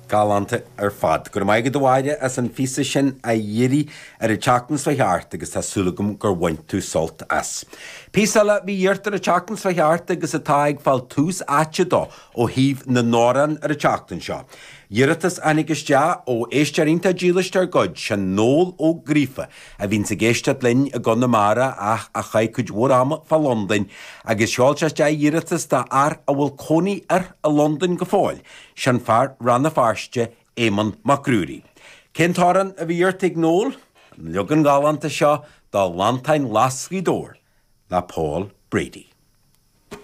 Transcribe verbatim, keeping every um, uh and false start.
Galánta ar fad. Go raibh maith agat a Mháire as an phíosa sin a iarraidh ar an tseachtain seo thart agus tá súil agam gur bhain tú sult as. Píosa eile a bhí iarrta ar an tseachtain seo thart agus atá ag fáil tús áite dó ó thaobh na n-amhrán ar an tseachtain seo. Iarratas a tháinig isteach ó éisteoir iontach dílis dár gcuid sin Noel Ó Gríofa a bhíonns ag éisteacht linn i gConamara ach a chaith cuid mhór ama fá Londain agus sheol sé isteach iarratas do fhear a bhfuil cónaí air i Londain go fóill, sin fear Rann na Feirste Éamonn Mac Ruairí. Cén t-amhrán a bhí iarrta ag Noel? An leagan galánta seo de Lanntáin Ghlas Ghaoth Dobhair le Paul Brady.